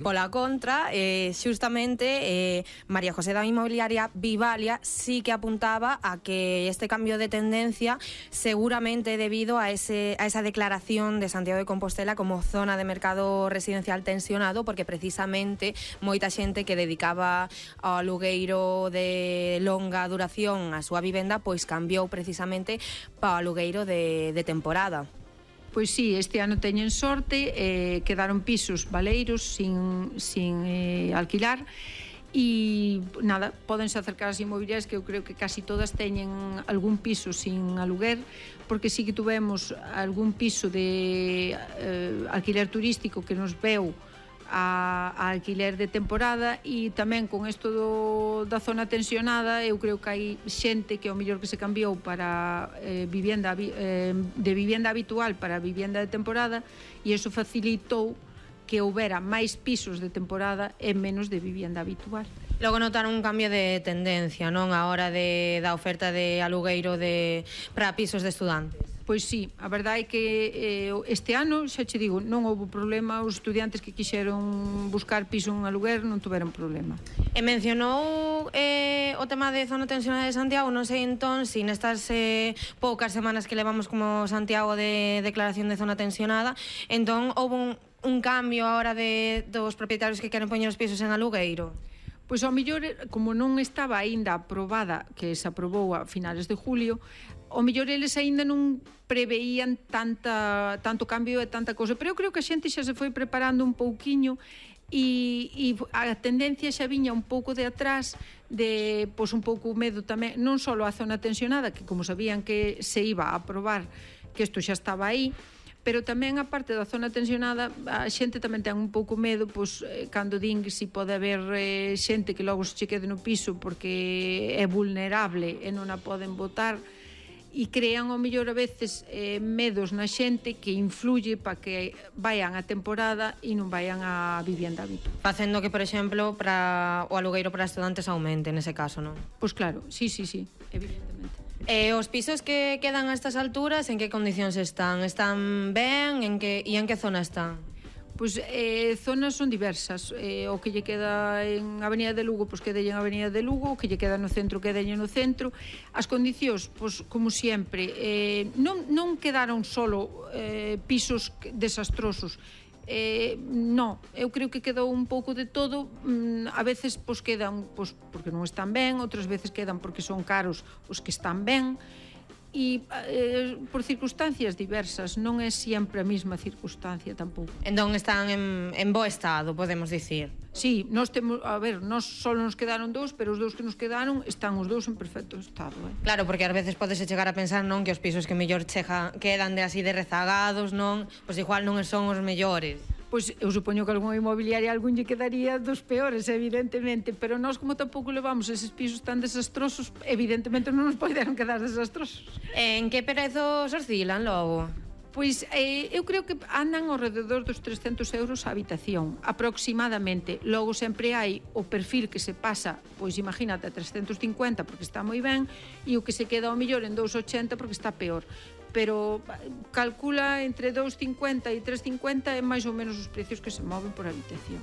Pola contra, xustamente, María José da inmobiliaria Vivalia sí que apuntaba a que este cambio de tendencia seguramente debido a esa declaración de Santiago de Compostela como zona de mercado residencial tensionado, porque precisamente moita xente que dedicaba ao alugueiro de longa duración a súa vivenda, pois cambiou precisamente para o alugueiro de temporada. Pois sí, este ano teñen sorte, quedaron pisos baleiros sin alquilar e nada, pódense acercar ás inmobiliarias, que eu creo que casi todas teñen algún piso sin aluguer, porque sí que tuvemos algún piso de alquiler turístico que nos veu a alquiler de temporada, e tamén con isto da zona tensionada eu creo que hai xente que ao mellor que se cambiou para de vivenda habitual para vivenda de temporada, e iso facilitou que houbera máis pisos de temporada e menos de vivenda habitual. Logo notaron un cambio de tendencia, non, a hora da oferta de alugueiro para pisos de estudantes. Pois sí, a verdade é que este ano, xa che digo, non houve problema, os estudiantes que quixeron buscar piso en aluguer non tuveron problema. E mencionou o tema de zona tensionada de Santiago, non sei entón se nestas poucas semanas que levamos como Santiago de declaración de zona tensionada, entón houve un cambio a hora dos propietarios que queren poñer os pisos en alugueiro. Pois ao mellor, como non estaba aínda aprobada, que se aprobou a finales de julio, ao mellor eles aínda non preveían tanto cambio e tanta cousa, pero eu creo que a xente xa se foi preparando un pouquiño e a tendencia xa viña un pouco de atrás de, pois un pouco medo tamén, non só a zona tensionada, que como sabían que se iba a aprobar, que isto xa estaba aí, pero tamén a parte da zona tensionada a xente tamén ten un pouco medo, pois cando din que si pode haber xente que logo se che quede no piso porque é vulnerable e non a poden botar, e crean ao mellor a veces medos na xente que influye para que vayan a temporada e non vayan a vivenda habitual. Facendo que, por exemplo, para o alugueiro para estudantes aumente nese caso, non? Pois claro, sí, evidentemente. E os pisos que quedan a estas alturas, en que condicións están? Están ben? En que zona están? Pois zonas son diversas, o que lle queda en Avenida de Lugo, pois quedelle en Avenida de Lugo, o que lle queda no centro, quedelle no centro. As condicións, pois como sempre, non quedaron solo pisos desastrosos, non, eu creo que quedou un pouco de todo. A veces pois quedan pois porque non están ben, outras veces quedan porque son caros os que están ben, e por circunstancias diversas, non é sempre a mesma circunstancia tampouco. Entón están en bo estado, podemos dicir. Sí, nós temos, a ver, nós só nos quedaron dous, pero os dous que nos quedaron están os dous en perfecto estado. Claro, porque ás veces podese chegar a pensar, non, que os pisos que mellor quedan de así de rezagados, non, pois igual non son os mellores. Pois eu supoño que algunha inmobiliaria algún lle quedaría dos peores, evidentemente, pero nós como tampouco levamos eses pisos tan desastrosos, evidentemente non nos poderon quedar desastrosos. En que prezos oscilan logo? Pois eu creo que andan ao rededor dos 300 euros a habitación, aproximadamente. Logo sempre hai o perfil que se pasa, pois imagínate, a 350 porque está moi ben, e o que se queda ao millor en 280 porque está peor. Pero calcula entre 2,50 e 3,50 é máis ou menos os precios que se moven por habitación.